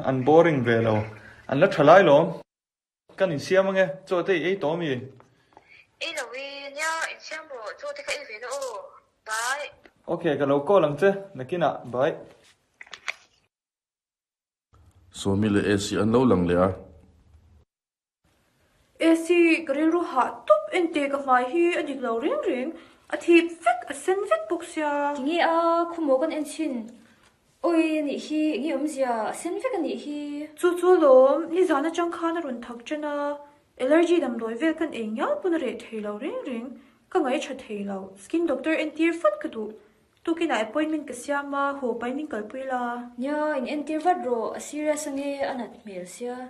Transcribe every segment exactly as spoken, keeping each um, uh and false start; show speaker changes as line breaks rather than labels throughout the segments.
an boring ve lo. An la tha lai lawm. Kan insiam ange, chaw te i ei tawh ami?
Ei lo e, nia, insiam rawh, chaw te ka ei ve na aw. Bye.
Ok, ka lo call ang che, nakinah, bye.
Sawmi leh Esi an lo lang leh a.
Esi, ka rilru hah tawp ente ka hmai hi a dik lo reng reng, a thip vek, a sen vek bawk sia.
Tinge a, khumaw kan en chhin. Awi a nih hi, enge awmzia, a sen vek a nih hi.
Chu chu alawm, nizan atang khan a rawn thak ṭan a, allergy damdawi vel kan ei ngial pawn a reh thei lo reng reng, ka ngaihṭha thei lo, skin doctor entir vat ka duh. Tukinah appointment ka siam a, haw pahin min kalpui la.
Nia, in entir vat rawh, a serious ange, a nat hmel sia.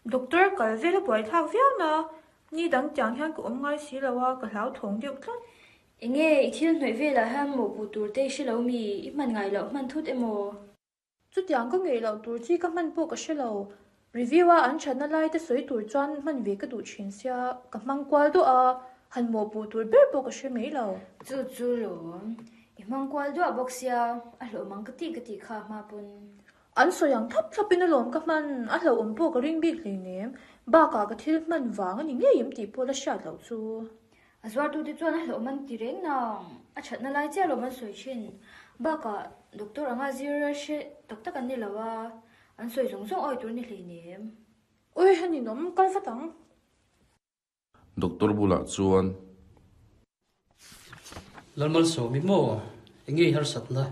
Doctor kal vel a buaithlak viau na, ni dang tiang hian ka awm ngai si lo a, ka hlauthawng deuh tlat.
Enge i thil hnawih velah hian mawhpuh tur te i hre lo mi, i hman ngai loh hman thut emaw?
Chutiang ka ngeih loh tur chi ka hman pawh ka hre lo. Review a an thatna lai te sawi tur chuan hman ve ka duh thin sia, ka hmang kual duah a, han mawhpuh tur ber pawh ka hre mai lo.
Chu chu lawm, i hmang kual duah bawk sia, a hlawh mang ka tih ka tih kha hma pawn.
An sawi ang thlap thlapin alawm ka hman, a hlauhawm pawh ka ring bik hleinem, bakah ka thil hman vang a ni ngei em tih pawh la hriat loh chu.
A zuartute chuan a hlauhawm an ti reng nang, a thatna lai chiah alawm an sawi thin. Bakah doctor anga zir hre tak tak an ni lo a, an sawi zawng zawng awi tur ni hleinem.
Ui, a ninawm, kal vat ang.
Doctor bulah chuan.
Lalmalsawmi maw? Enge i harsatna?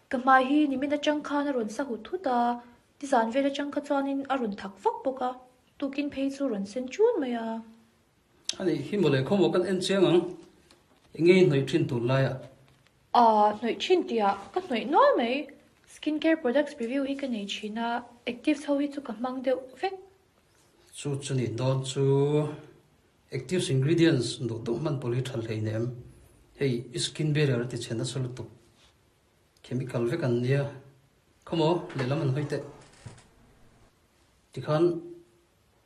Ka hmai hi nimin atang khan a rawn sa hut hut a, nizan vel atang kha chuanin a rawn thak vak bawk a, tukin phei chu rawn sen chun mai a.
A nih hi mawle, khawmaw kan en chiang ang. Enge i hnawih thin tun laiah?
Aaa, hnawih thin tihah ka hnawih nual mai. Skin care products review hi ka nei thin a, actives ho hi chu ka hmang deuh vek.
Chu chu nih dawn chu actives ingredients duh duh hman pawh hi tha hleinem. Hei i skin barrier a ti chhe nasa lutuk. Chemical vek an nia. Khawmaw lehlam an hawi teh. Tikhan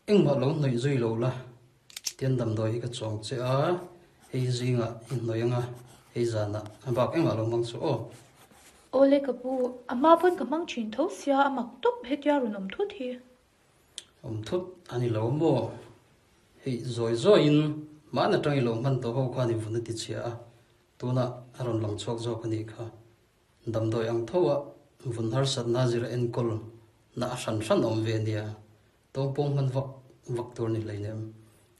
engmah lo hnawih zui lo la. Tian damdawi hi ka chuang che a, hei zingah i hnawih anga hei zanah a bak engmah lo hmang chu aw.
Awle ka pu, a hma pawn ka hmang thin tho sia a mak tawp hetia rawn awm thut hi.
Awm thut a ni lo maw? Hei zawi zawiin mahna tang i lo hman tawh ho khan i vun a ti chhia a, tunah a rawn lang chhuak zawk a nih kha. Damdawi ang tho a vun harsatna zir a enkawl na a hran hran awm ve nia. Tawngpawng hman vak vak tur ni hleinem.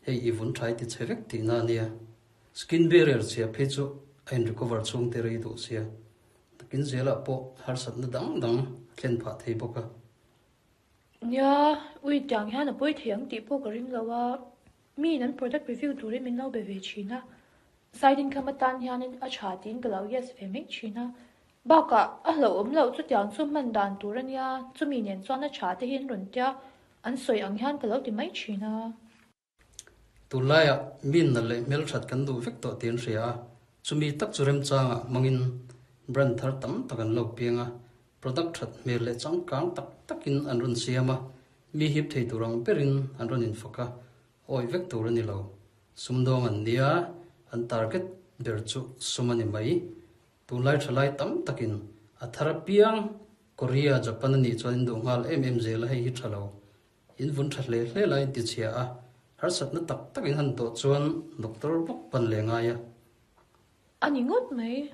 Hei i vun tha i ti chhe vek tihna a nia. Skin barrier chhia phei chu a in recover chhung te rei duh sia. Nakin zelah pawh harsatna dang dang a thlen phah thei bawk a.
Nia, ui tiang hian a pawi thei ang tih pawh ka ring lo a, miin an product review turin min lo be ve thin a, side income atan hianin a tha tiin ka lo yes ve mai thin a, bakah a hlauhawm loh chutiang chu hman dan tur a nia, chumi nen chuan a tha te hi an rawn tia, an sawi ang hian ka lo ti mai thin a.
Tunlaiah min nalh leh hmelthat kan duh vek tawh tih an hria a, chumi tak chu remchangah hmangin brand thar tam tak an lo piang a, product that hmel leh changkang tak takin an rawn siam a, mi hip thei tur ang berin an rawn infak a, awi vek tur a ni lo. Sumdawng an nia, an target ber chu sum a ni mai. Tunlai thalai tam takin a thar apiang Korea, Japan a nih chuan in duh nghal em em zel a, hei hi tha lo. In vun tha hle hle lai in ti chhia a, harsatna tak tak in han tawh chuan doctor bawk pan leh ngai a.
A ni ngawt mai.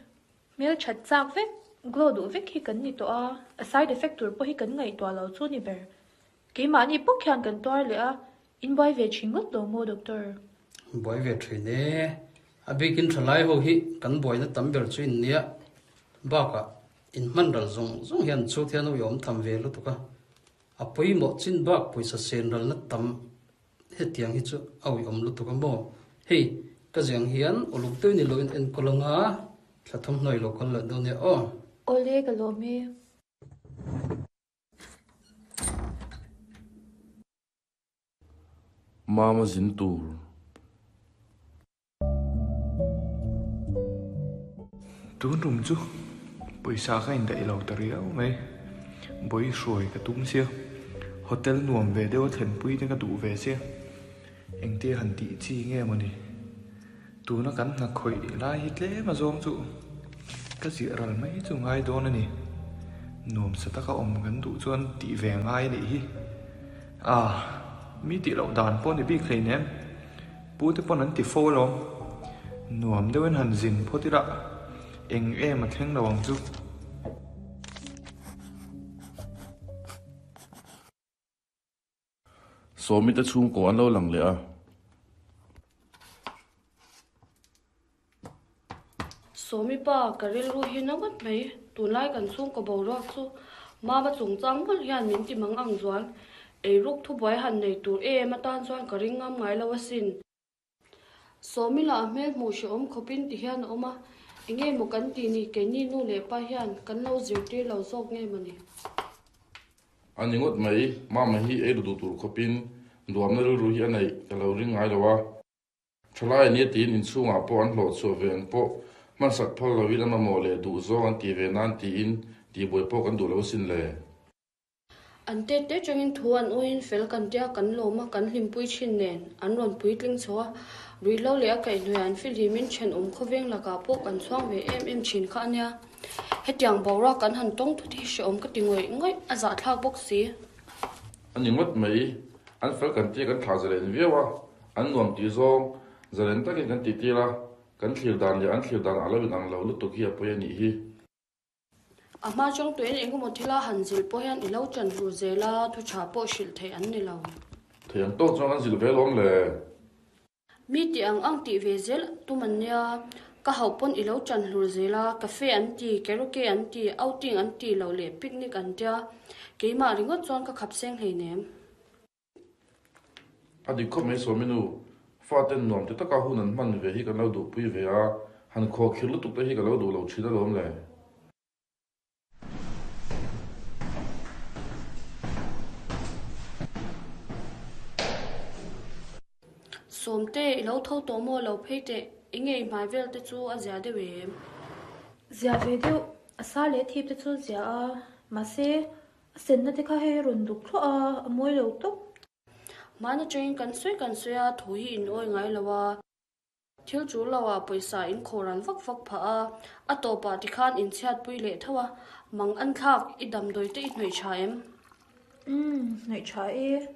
Hmel that chak vek, glow duh vek hi kan ni tawh a, a side effect tur pawh hi kan ngaihtuah lo chu ni ber. Keimahni bawk hian kan tuar leh a, in buai ve thin ngawt lo maw doctor?
Buai ve thin e. A bikin thalai ho hi kan buaina tam ber chu in nia. Bakah in hman ral zawng zawng hian chhut hian uiawm tham ve lutuk a. A pawimawh chin bak pawisa sen ralna tam hetiang hi chu a uiawm lutuk a maw? Hei, ka ziang hian uluk deuh ni loin enkawl anga thla thawmhnaw i lo kal leh dawn nia aw.
Awle ka lawm e.
Mama zin tur.
Tun rum chu pawisa ka indaih lo ta riau mai. Bawi hruai ka tum sia. Hotel nuam ve deuh a thlenpui te ka duh ve sia. Engtia han tih chi nge mawni. Tuna kan hna khawih lai hi tlem a zawng chu ka ziah ral mai chu ngai dawn a ni. Nuam sa taka awm kan duh chuan tih ve ngai anih hi. Ah, mi tih loh dan pawh ni bik hleinem. Pu te pawn an ti fo alawm. Nuam deuhin han zin phawt ila eng em a thleng lo ang chu.
Sawmi te chhungkaw an lo lang leh a.
Sawmi pa, ka rilru hi na ngawt mai. Tunlai kan chhungkaw boruak chu Mama chungchang mawlh hian min ti mang ang zual. Eiruk thubuai han nei tur em atan chuan ka ring ngam ngai lo asin. Sawmi lah a hmel hmuh hrehawm khawpin ti hian a awm a, enge maw kan tih ni keini nu leh pa hian kan lo zirtir lo zawk nge maw ni?
A ni ngawt mai, Mama hi ei duh tur khawpin duamna rilru hi a neih ka lo ring ngai lo a. Thalai ania tiin inchhungah pawh an hlawh chhuah ve ang pawh hmansak phal loin a mamawh leh duh zawng an tih ve nan tiin tihbuai pawh kan duh lo asin le.
An te te changin thu an awiin fel kan tia kan lawm a, kan hlimpui thin nen an rawn puitling chho a, ruihhlo leh a kaihhnuaiah an fihlimin thenawm khawveng lakah pawh kan chhuang ve em em thin kha ania. Hetiang boruak kan han tawng thut hi hrehawm ka ti ngawih ngawih, a zahthlak bawk si.
A ni ngawt mai, an fel kan tia kan thlah zalen viau a, an nuam tih zawng zalen takin kan tih tir a, kan thlir dan leh an thlir dan a lo inang lo lutuk hi a pawi a nih hi.
A hma chang tuin engemaw thila han zilh pawh hian i lo chan hlur zel a, thu tha pawh hrilh theih an ni lo.
Thei ang tawk chuan an zilh ve lawm le.
Mi tih ang ang tih ve zel tum an nia, ka hauh pawn i lo chan hlur zel a, cafe an ti, karaoke an ti, outing an ti loh leh picnic an tia, keimah ringawt chuan ka khap seng hleinem.
A dik khawp mai Sawmi nu, faten nuam ti taka hun an hman ve hi kan lo duhpui ve a, han khuakhir lutuk te hi ka lo duh lo thin alawm le.
Sawmte, i lo tho tawh maw lo phei teh, enge i hmai vel te chu a zia deuh em?
Zia ve deuh, a sa leh thip te chu zia a, mahse a senna te kha hei a rawn duk thluah a, a mawi lo tawp.
Hmana changin kan sawi kan sawi a, thu hi in awi ngai lo a. Thil tul lo ah pawisa in khawhral vak vak phah a, a tawpah tikhan in chhiatpui leh tho a, mang an thlak i damdawi te i hnawih tha em?
Umm, hnawih tha e,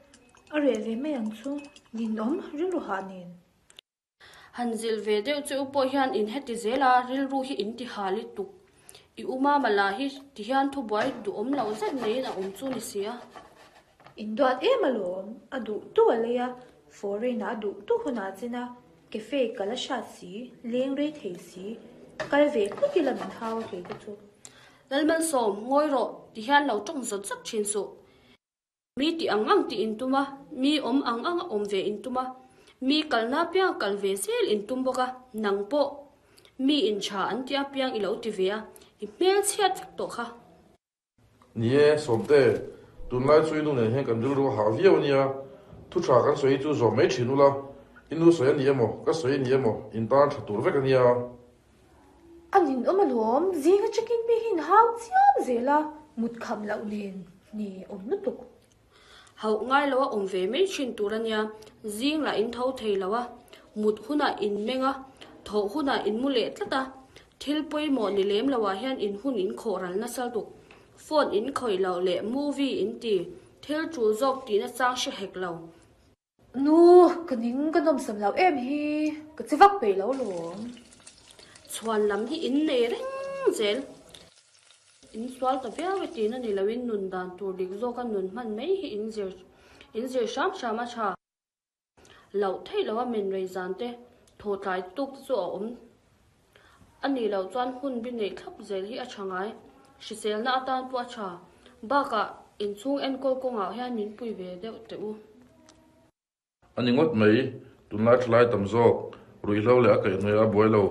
a reh ve mai ang chu, ninawm rilru hah nen.
Han zilh ve deuh che u pawh hian in heti zel a, rilru hi in ti ha lutuk. I u mama lah hi tihian thubuai duhawm loh zet maiin a awm chu ni si a.
In duat em alawm, a duh tu a lei a, foreign ah a duh tu hunah chin a, cafe kal a hrat si, leng rei thei si, kal ve tlut ila min hau a kei te chu.
Lalmalsawm, ngawi rawh, tihian lo tawng zawt zawt thin suh. Mi tih ang ang tih in tum a, mi awm ang ang a awm ve in tum a, mi kalna apiang a kal ve zel in tum bawk a, nang pawh mi in tha an tih apiang i lo ti ve a, i hmel chhiat vek tawh kha.
Ni e, Sawmte, tunlai chu i nu nen hian kan rilru a hah viau a nia, thu tha kan sawi hi chu zawm mai thin ula, i nu sawi a ni emaw, ka sawi a ni emaw, in tan tha tur vek a nia.
A ninawm alawm, zing atangin mi hi in hau chiam zel a, mut kham loh nen ni awm lutuk.
Hauh ngai lo a awm ve mai thin tur a nia, zing lah in tho thei lo a, mut hunah in meng a, thawh hunah in mu leh tlat a, thil pawimawh ni lem loah hian in hun in khawh ral nasa lutuk, phone in khawih loh leh movie in ti, thil tul zawk tihna chang hre hek lo.
Nu, ka ning ka nawmsam loh em hi, ka che vak peih lo lawm.
Chhuan lam hi in nei reng zel. In sual ta viau e tihna ni loin nun dan tur dik zawka nun hman mai hi in zir in zir hram hram a tha. Loh theih loha men rei zan te thaw tlai tuk te chu a awm a nih loh chuan hun bi neih thlap zel hi a tha ngai. Hriselna atan pawh a tha. Bakah inchhung enkawl kawngah hian min pui ve deuh teh u.
A ni ngawt mai, tunlai thalai tam zawk, ruihhlo leh a kaihhnuai a buai lo,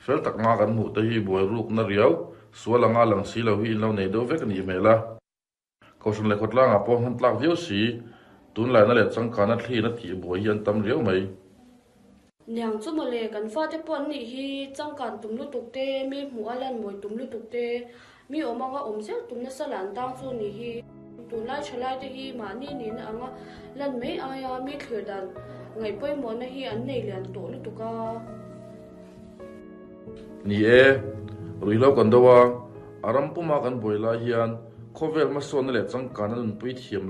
fel tak nga kan hmuh te hi buai rukna riau, sual anga lang si lo hi in lo nei deuh vek a nih hmel a. Kohhran leh khawtlangah pawh hman tlak viau si, tunlaina leh changkana thliin a tih buai hi an tam riau mai.
Niang chu mawle, kan fate pawh an nih hi changkan tum lutuk te, mi hmuh a lan mawi tum lutuk te, mi awm anga awm zel tum nasa lah an tang chu nih hi. Tunlai thalai te hi mahni nihna anga lan mai aia mi thlir dan ngaih pawimawhna hi an nei lian tawh lutuk a.
Ni e, ruihhlo kan do a, a ram puma kan buai lai hian Khawvel hmasawnna leh changkanna nunpui thiam